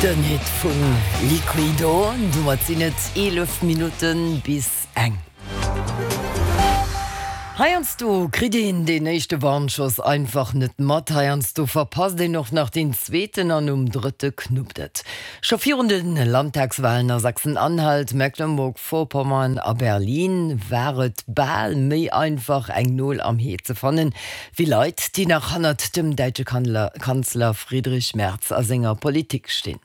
Den Hit vun Liquido. Domat sinn et 11 Minutten bis eng. Heiansdo kritt een deen éischte Warnschoss einfach net mat, heiansdo verpasst een och nach deen zweeten an um drëtte knuppt et. Scho virun de Landtagswalen a Sachsen-Anhalt, Mecklenburg-Vorpommern a Berlin war et bal méi einfach eng Nol am Hee ze fannen, wéi Leit, déi nach hannert dem däitsche Kanzler Friedrich Merz a senger Politik stinn.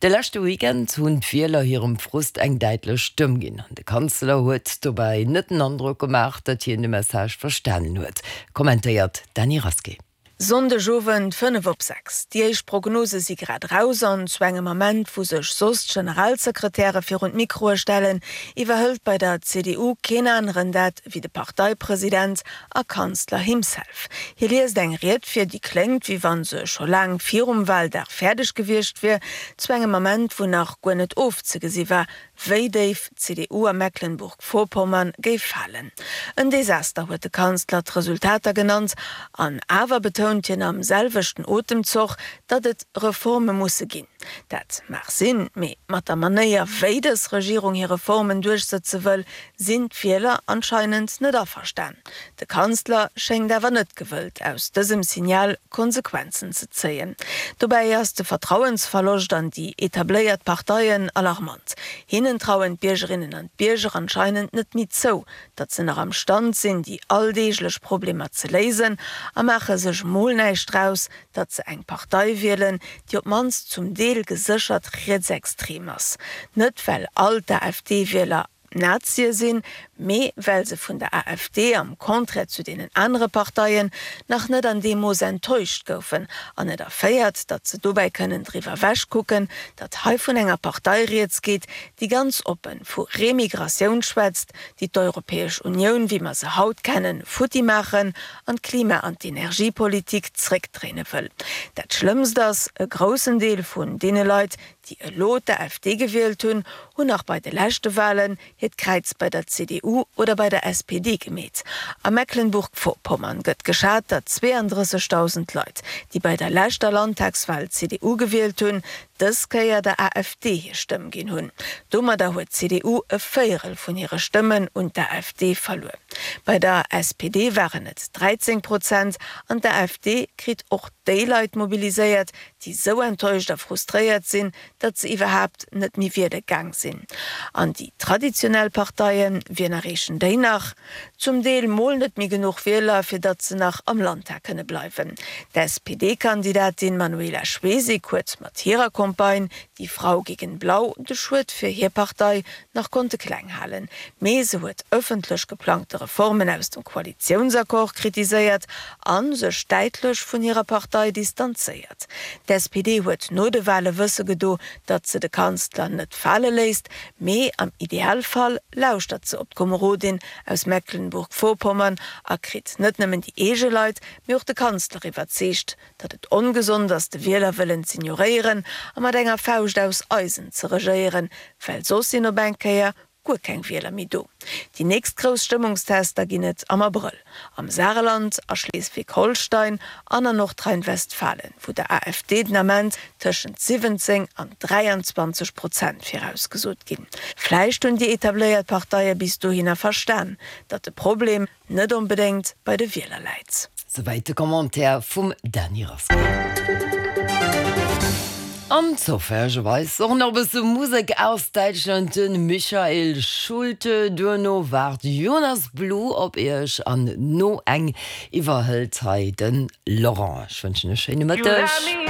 De leschte Weekend hunn d'Wieler hirem Frust eng däitlech Stëmm ginn. An de Kanzler huet dobäi net den Androck gemaach, datt hien de Message verstanen huet, kommentéiert d'Dany Rasqué. Sonndegowend 5 op 6, Déi éischt Prognose si grad eraus an zu engem Ament, wou sech soss d'Generalsekretäre virun d'Mikroe stellen, iwwerhëlt bei der CDU keen aneren dat wéi de Parteipresident a Kanzler himself. Hie liest eng Ried vir, déi kléngt, wéi wann se scho laang virum Waldag fäerdeg gewiescht wier, zu engem Ament, wou nach guer net ofzegesi war, wéi déif d'CDU a Mecklenburg-Vorpommern géif falen. En Desaster huet de Kanzler d'Resultater genannt, an awer betount hien am selwechten Otemzoch, datt et Reforme musse ginn. Dat mag sinn, mee mat der Manéier, wéi dës Regierung hir Reformen duerchsëtze wëll, sinn d'Wieler anscheinend net averstan. De Kanzler schéngt awer net gewëllt, aus dësem Signal Konsequenzen ze zéien. Dobäi ass de Vertrauensverloscht an déi etabléiert Parteien alarmant. Hinnen trauen d'Biergerinnen an d'Bierger anscheinend net méi zou, datt se nach am Stand sinn, déi alldeeglech Problemer ze léisen a maache sech mol näischt draus, datt se eng Partei wielen, déi op d'mannst zum Deel geséchert rietsextrem ass. Net well all d'AfD-Wieler Nazie sinn, mee well se vun der AfD, am Contraire zu deenen anere Parteien, nach net an deem Mooss enttäuscht goufen an et erféiert, datt se dobäi kënnen driwwer ewechkucken, datt hei vun enger Partei rieds geet, déi ganz oppe vu Remigratioun schwätzt, déi d'Europäesch Unioun, wéi mer se haut kennen, futti maachen an d'Klima an d'Energiepolitik zréckdréine wëll. Dat Schlëmmst ass, e groussen Deel vun deene Leit, déi elo d'AfD gewielt hunn, hunn nach bei de leschte Walen hiert Kräiz bei der CDU oder bei der SPD gemeet. A Mecklenburg-Vorpommern gëtt geschat, datt 32.000 Leit, déi bei der leschter Landtagswal d'CDU gewielt hunn, dës Kéier der AfD hir Stëmm ginn hunn. Domadder huet d'CDU e Véierel vun hire Stëmmen un d'AfD verluer. Bei der SPD waren et 13 Prozent an d'AfD kritt och déi Leit mobiliséiert, déi sou enttäuscht a frustréiert sinn, datt se iwwerhaapt net méi wiele gaang sinn. An déi traditionell Parteien, wien erreechen déi nach? Zum Deel mol net méi genuch Wieler, fir datt se nach am Landtag kënne bleiwen. D'SPD-Kandidatin Manuela Schwesig huet mat hirer Campagne Die Frau gegen Blau de Schued fir hir Partei nach konnte kleng halen, mee se huet ëffentlech geplangte Reformen aus dem Koalitiounsaccord kritiséiert a sech däitlech vun hirer Partei distanzéiert. D'SPD huet no de Wale wësse gedo, datt se de Kanzler net fale léisst, mee am Idealfall lauschtert se op d'Komerodin aus Mecklenburg-Vorpommern a kritt net nëmmen déi eege Leit, mee och de Kanzler iwwerzeegt, datt et ongesond ass de Wielerwëllen z'ignoréieren a mat enger Fauscht aus Eisen ze regéieren, well soss sinn op eng Kéier guer keng Wieler méi do. Déi nächst grouss Stëmmungstester ginn et am Abrëll, am Saarland, a Schleswig-Holstein an an Nordrhein-Westfalen, wou der AfD den Ament tëschent 17 an 23 Prozent virausgesot ginn. Vläicht hunn déi etabléiert Parteie bis dohinner verstan, datt de Problem, net onbedéngt bei de Wieler läit. Souwäit de Commentaire vum Dany Rasqué. An zoufällegerweis och nach e bësse Musek aus Däitschland, de Michael Schulte. Duerno waart Jonas Blue op iech an no eng iwwerhëlt hei de Laurent. Ech wënschen e schéine Mëtteg.